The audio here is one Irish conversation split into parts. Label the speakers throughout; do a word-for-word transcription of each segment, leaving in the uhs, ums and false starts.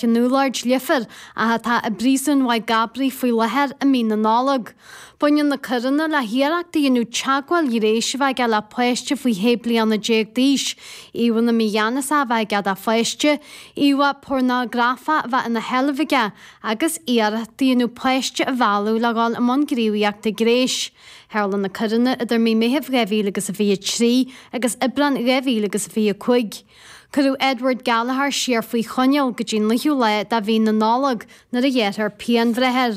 Speaker 1: an Úlloird, Leifear, ach atá i bpríosún Mhaigh gCabraí faoi láthair i mí na Nollag. Baineann na coireanna le hiarracht a dhéanamh teagmháil ghnéis a bheith aige le páiste faoi shé bliana déag d'aois, íomhánna mígheanasacha a bheith aige de pháiste, íomhá pornagrafach a bheith ina sheilbh aige agus iarracht a dhéanamh páiste a mhealladh le dhul i mbun gníomhaíochta gnéis. Tharla na coireanna idir mí Meithimh dhá mhíle agus a fiche trí agus Aibreán dhá mhíle agus a fiche cúig. Cuireadh Edward Gallagher siar faoi choinneáil go dtí an naoú lá de mhí na Nollag nuair a ghearrfar pianbhreith air.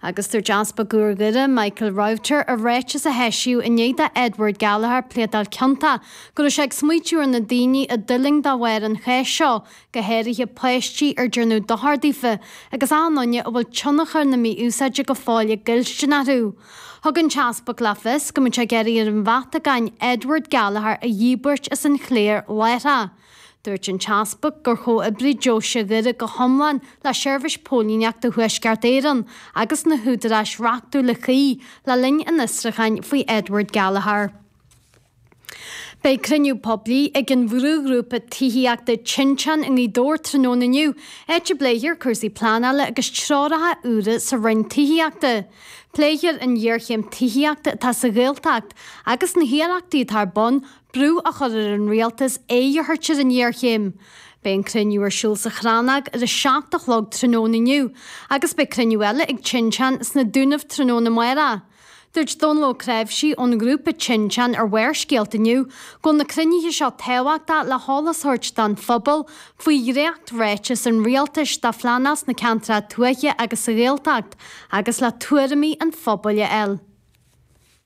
Speaker 1: Agus dúirt Easpag Dhoire, Michael Router, i ráiteas a eisíodh i ndiaidh do Edward Gallagher pléadáil ciontach go raibh sé ag smaoitiú ar na daoine a d'fhulaing de bharr an cháis seo, go háirithe páistí ar déanadh dochar daofa agus achan duine a bhfuil tionchar na mí-úsáide go fóill i gcoillstin orthu. Thug an tEaspag le fios go mbeadh sé ag iarraidh ar an Vatacáin Edward Gallagher a dhíbirt as an chléir láithreach. Dúirt an tEaspag gur chomhoibrigh Deoise Dhoire go hiomlán le Seirbhís Póilíneachta Thuaisceart Éireann agus na húdaráis reachtúla cuí le linn an fhiosrúcháin faoi Edward Gallagher. Beidh cruinniú poiblí ag an bhrúghrúpa tithíochta Tinteán i nGaoth Dobhair tráthnóna inniu, áit a bpléifear cúrsaí pleanála agus treoracha úra sa Roinn Tithíochta. Pléifear an ghéarchéim tithíochta atá sa Ghaeltacht agus na hiarrachtaí atá ar bun brú a chur ar an rialtas aghaidh a thabhairt ar an ngéarchéim. Beidh an cruinniú ar siúl sa Chrannóg ar a seacht a chlog tráthnóna inniu agus beidh cruinniú eile ag Tinteán sna Dúnaibh tráthnóna amárach. Dúirt Dónal Ó Cnáimhsí ón ngrúpa Tinteán ar Bharrscéalta inniu go bhfuil na cruinnithe seo tábhachtach le heolas a thabhairt don phobal faoi dhréacht-ráiteas an rialtais do phleanáil sna ceantracha tuaithe agus sa Ghaeltacht agus le tuairimí an phobail a fháil.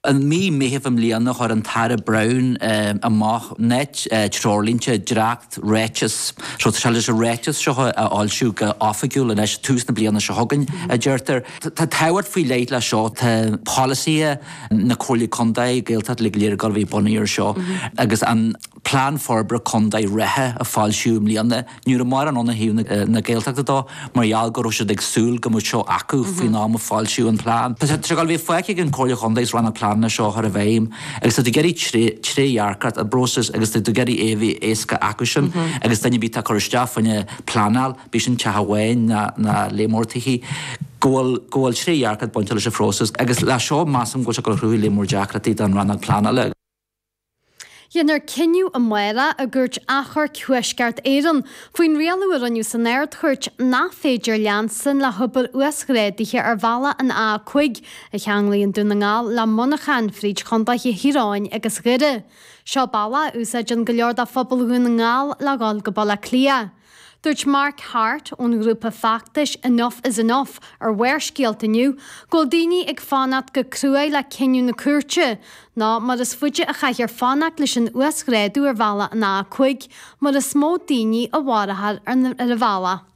Speaker 2: I mí Meithimh i mbliana chuir an tAire Browne amach na treoirlínte dréacht-ráiteas. So tá sé leis an ráiteas seo a fhoilsiú go oifigiúil anois tús na bliana seo chugainn, a deirtear. Tá tábhacht faoi leith leis seo, tá polasaithe na Comhairle Contae, Gaeltacht uilig go léir ag dul a bheith bunaithe ar seo agus an Plean Forbartha Contae reatha a foilsíodh i mbliana, ní raibh mórán ann ó thaobh na Gaeltachta dó mar gheall go raibh siad ag súil go mbeadh seo acu faoin am a foilsíodh an plean. Tá sé ag dul a bheith fágtha ag an Chomhairle Chontae is rannóg pleananna seo a chur i bhfeidhm agus tá tú ag iarraidh trédhearcacht i bpróiseas agus tá tú ag iarraidh é a bheith éasca acu sin agus duine ar bith atá ag cur isteach fá choinne pleanáil, bíodh sin teach amháin ná lear mór tithe, go bhfuil go bhfuil trédhearcacht bainte leis an phróiseas agus le seo measaim go bhfuil sé ag dul a chruthú lear mór deacrachtaí don rannóg pleanála.
Speaker 1: Déanfar cinneadh amárach i gCúirt Achomhairc Thuaisceart Éireann faoin rialú a rinneadh san Ard-Chúirt nach féidir leanstan le hobair uasghrádaithe ar bhealach an A a cúig a cheanglaíonn Dún na nGall le Muineachán fríd chontaetha Thír Eoghain agus Dhoire. Seo bealach a úsáideann go leor de phobal Dhún na nGall le dhul go Baile Átha Cliath. Dúirt Mark Harte ón ghrúpa feachtais Enough is Enough ar Bharrscéalta inniu go bhfuil daoine ag fanacht go cruaidh le cinneadh na cúirte, nó mar is faide a chaithfear fanacht leis an uasghrádú ar bhealach an A a cúig, mar is mó daoine a mharófar ar an bhealach.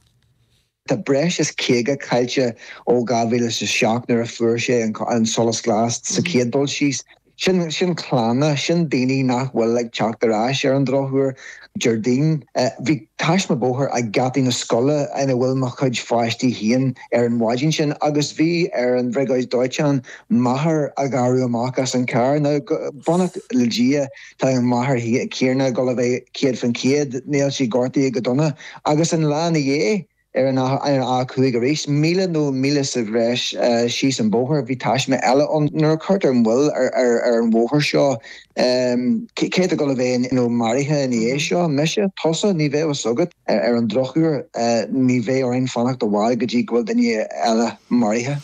Speaker 3: Tá breis is caoga caillte ó dhá mhíle is a seacht nuair a fuair sé an solas glas sa chéad dul síos. Sin, sin clanna, sin daoine nach bhfuil ag teacht ar ais ar an drochuair. Déardaoin, bhí taisme bóthair ag geataí na scoile ina bhfuil mo chuid pháistí féin ar an mhaidin sin agus bhí ar an bhriogáid dóiteáin máthair a ghearradh amach as an charr. Now, beannacht le Dia, tá an mháthair chéanna ag dul a bheith céad faoin chéad, níl sí gortaithe go dona. Agus an lá ina dhiaidh, Ar an A cúig arís, míle nó míle sa bhreis síos an bóthar, bhí taisme eile ann. Nuair a chuirtear moill ar an bhóthar seo, cé atá ag dul a bheith maraithe ina dhiaidh seo? Mise? Tusa? Ní bheadh fhios agat. Ar an drochuair, ní bheidh orainn fanacht i bhfad go dtí go bhfuil duine eile maraithe.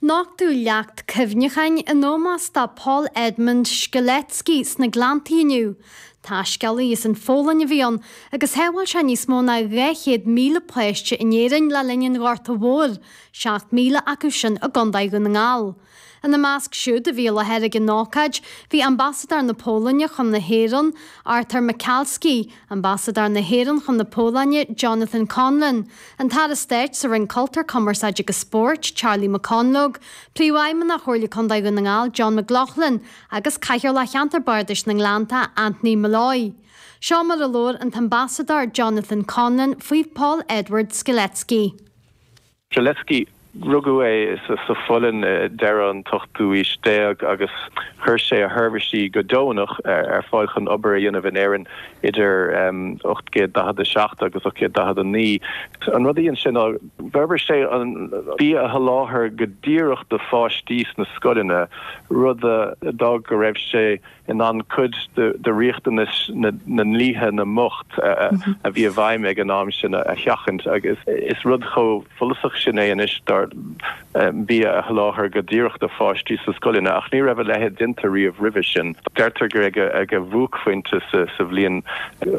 Speaker 1: Nochtadh leacht cuimhneacháin in ómós do Paul Edmund Strzelecki sna Gleanntaí inniu. Taiscéalaí as an Pholainn a bhí ann agus shábháil sé níos mó ná dhá chéad míle páiste in Éirinn le linn an Ghorta Mhóir, seacht míle acu sin i gContae Dhún na nGall. Ina measc siúd a bhí i láthair ag an ócáid bhí Ambasadóir na Polainne chun na hÉireann, Artur Michalski, Ambasadóir na hÉireann chun na Polainne, Jonathan Conlon, an tAire Stáit sa Roinn Cultúir, Cumarsáide agus Spóirt, Charlie McConalogue, Príomhfheidhmeannach Chomhairle Contae Dhún na nGall, John McLaughlin agus Cathaoirleach Cheantar Bardais na nGleannta, Anthony Molloy. Seo mar a labhair an tAmbasadóir Jonathan Conlon faoi Paul Edward Strzelecki.
Speaker 4: Strzelecki Rugadh é sa Pholainn deireadh an t-ochtú aois déag agus chuir sé a sheirbhísí go deonach ar fáil chun obair a dhéanamh in Éirinn idir ocht gcéad daichead a seacht agus ocht gcéad daichead a naoi. An rud a dhein sé ná d'fhorbair sé an bia a sholáthar go díreach do pháistí sna scoileanna, rud a d'fhág go raibh sé in ann cuid de riachtanais na ndlíthe na mbocht a bhí i bhfeidhm ag an am sin a sheachaint agus is rud chomh follasach sin é anois dar bia a sholáthar go díreach do pháistí sa scoileanna ach ní raibh a leithéid déanta riamh roimhe sin. Deirtear gur ag a bhuaicphointe sa bhliain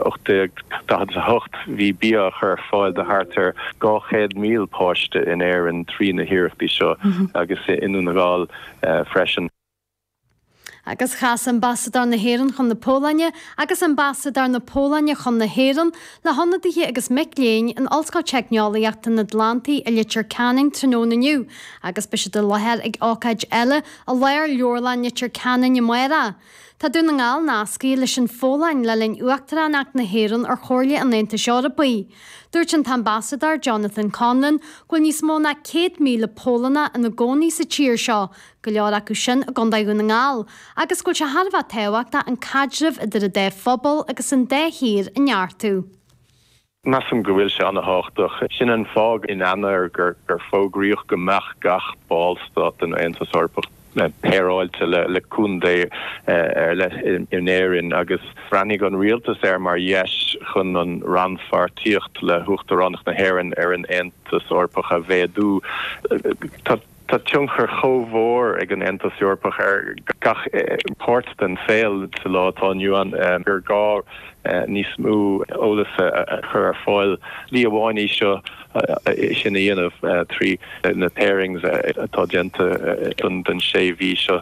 Speaker 4: ocht déag daichead a hocht bhí bia á chur ar fáil do thart ar dhá chéad míle páiste in Éirinn trí na hiarrachtaí seo agus i nDún na nGall freisin.
Speaker 1: Agus chas Ambasadóir na hÉireann chun na Polainne agus Ambasadóir na Polainne chun na hÉireann le hionadaithe agus mic léinn in Ollscoil Teicneolaíochta an Atlantaigh i Leitir Ceanainn tráthnóna inniu agus beidh siad i láthair ag ócáid eile i Lár-Leabharlann Leitir Ceanainn amárach. Tá Dún na nGall nascaithe leis an Pholainn le linn Uachtaránacht na hÉireann ar Chomhairle an Aontais Eorpaigh. Dúirt an tAmbasadóir Jonathan Conlon go bhfuil níos mó ná céad míle Polannach ina gcónaí sa tír seo, go leor acu sin i gContae Dhún na nGall, agus go bhfuil sé thar a bheith tábhachtach an caidreamh idir an dá phobal agus an dá thír a neartú.
Speaker 4: Measaim go bhfuil sé an-tábhachtach. Sin an fáth in Eanáir gur fógraíodh go mbeadh gach ballstát den Aontas Eorpach péireáilte le contae ar leith in Éirinn agus bhreathnaigh an rialtas air mar dheis chun an rannpháirtíocht le hUachtaránacht na hÉireann ar an Aontas Eorpach a mhéadú. Tá tionchar chomh mhór ag an Aontas Eorpach ar gach páirt den saol sa lá atá inniu ann gur gá níos mó eolas a chur ar fáil. Slí amháin í seo sin a dhéanamh trí na pairings atá déanta don sé mhí seo.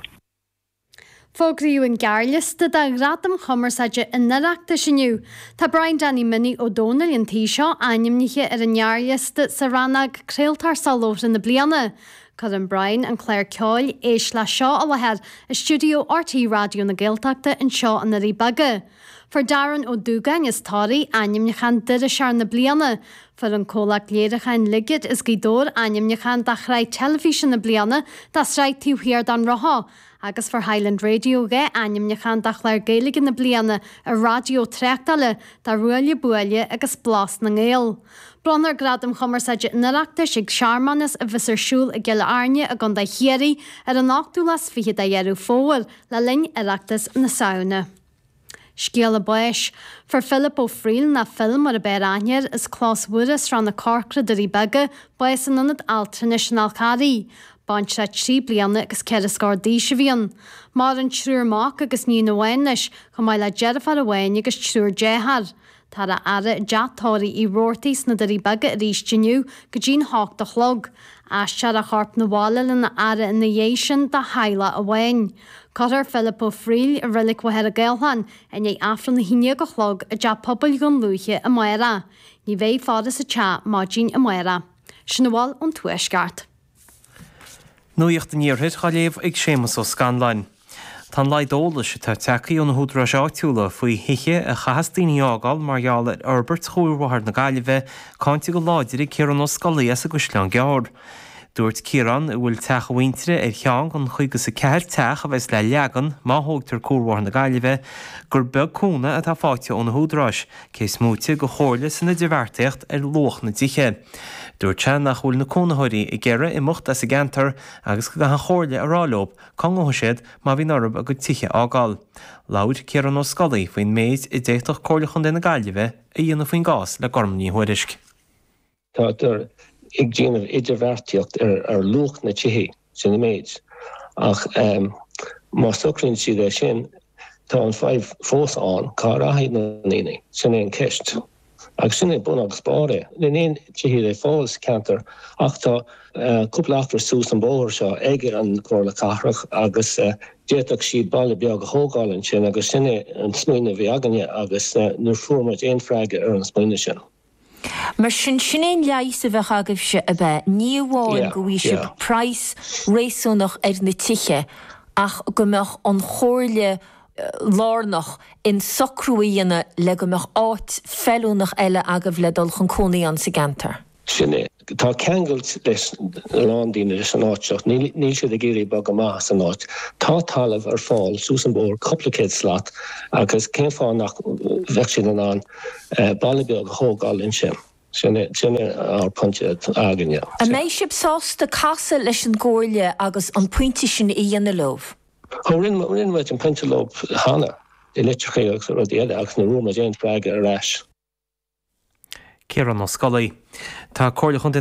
Speaker 1: Fógraíodh an gearrliosta do Ghradaim Chumarsáide an Oireachtais inniu. Tá Brian Danny Minnie Ó Dónaill an tí seo ainmnithe ar an ngearrliosta sa rannóg Craoltóir Soláthair na Bliana. Cuireann Brian an clár ceoil Éist Leis Seo i láthair i stiúideo RTÉ Raidió na Gaeltachta anseo i nDoirí Beaga. Fuair Darren Ó Dúgáin as Toraigh ainmniúchán d'Iriseoir na Bliana. Fuair an comhlacht léiriúcháin Ligeid as Gaoth Dobhair ainmniúchán do Shraith Teilifíse na Bliana dá sraith Taobh Thiar den Roth agus fuair Highland Radio dhá ainmniúchán do Chlár Gaeilge na Bliana ar raidió tráchtála do Ruaille Buaille agus Blas na nGael. Bronnfar Gradaim Chumarsáide an Oireachtais ag searmanas a bheas ar siúl i gCill Airne i gContae Chiarraí ar an ochtú lá is fiche de Dheireadh Fómhair le linn Oireachtas na Samhna. Scéala báis. Fuair Philip Ó Frighil, nó Phil mar ab fhearr aithne air, as Clós Mhuire, Srath na Corcra, Doirí Beaga, bás in Ionad Altranais an Fhál Carraigh. Baintreach trí bliana agus ceithre scór d'aois a bhí ann. Maireann triúr mac agus níon amháin leis, chomh maith le deirfiúr amháin agus triúr dearthár. Táthar á fhaire i dteach tórraimh Uí Robhartaigh sna Doirí Beaga arís inniu go dtí'n hocht a chlog. Aistreofar a chorp 'na bhaile lena fhaire ina dhiaidh sin dá theaghlach amháin. Cuirfear Philip Ó Frighil i Reilig Mhachaire Gathlán i ndiaidh Aifreann a haon déag a chlog i dTeach Pobail Dhún Lúiche amárach. Ní bheidh faire sa teach maidin amárach. Sin a bhfuil ón Tuaisceart.
Speaker 5: Nuacht an Iarthair á léamh ag Séamus Ó Scanláin. Tá an laghad eolais atá tagtha ó na húdaráis áitiúla faoi thithe a chaithfeas daoine a fhágáil mar gheall ar fhorbairt Chuarbhóthar na Gaillimhe cáinte go láidir ag Ciarán Ó Scolaí as an gCaisleán Gearr. Dúirt Ciarán, a bhfuil teach a mhuintire ar cheann den chaoga is a ceathair teach a bheas le leagan má thógtar Cuarbhóthar na Gaillimhe, gur beag cúnamh atá faighte ó na húdaráis, cé is móite de chomhairle san idirbheartaíocht ar luach na dtithe. Dúirt sé nach bhfuil na cónaitheoirí ag iarraidh imeacht as an gceantar agus go gcaithfidh an Chomhairle a rá leo cá ngabhfaidh siad má bhíonn orthu a gcuid tithe a fhágáil. Labhair Ciarán Ó Scolaí faoin méid a d'fhéadfadh Comhairle Chontae na Gaillimhe a dhéanamh faoin gcás le Gormfhlaith Ní Thuairisg.
Speaker 6: Táthar ag déanamh idirbheartaíocht ar luach na tithe, sin an méid. Ach má socraíonn siad é sin, tá an fadhb fós ann, cá rachaidh na daoine? Sin é an ceist. Agus sin é bun agus barr é. Níl aon tithe le fáil sa cheantar ach tá cúpla acra suas an bóthar seo ag an Chomhairle Cathrach agus d'fhéadfadh siad baile beag a thógáil ansin agus sin é an smaoineamh a bhí againne agus níor fuair muid aon freagra ar an smaoineamh sin.
Speaker 7: Mar sin, sin é an leigheas a bheadh agaibhse, ab ea? Ní amháin go bhfaighidh sibh praghas réasúnach ar na tithe ach go mbeadh an Chomhairle lárnach in socrú a dhéanamh le go mbeadh áit feiliúnach eile agaibh le dul chun cónaí ann sa gceantar.
Speaker 6: Sin é. Tá ceangailt leis a lán daoine leis an áit seo, níl siad ag iarraidh bogadh amach as an áit. Tá talamh ar fáil suas an bóthar, cúpla céad slat, agus cén fáth nach bheadh siad in ann baile beag a thógáil ansin? Sin ár pointe againne.
Speaker 7: An mbeidh sibh sásta casadh leis an gComhairle agus an pointe sin a dhéanamh leo?
Speaker 6: Ó, rinne muid an pointe leo cheana, i litreacha agus rudaí eile, agus ní bhfuair muid aon freagra ar ais.
Speaker 5: Ciarán Ó Scolaí. Tá Comhairle Chontae na.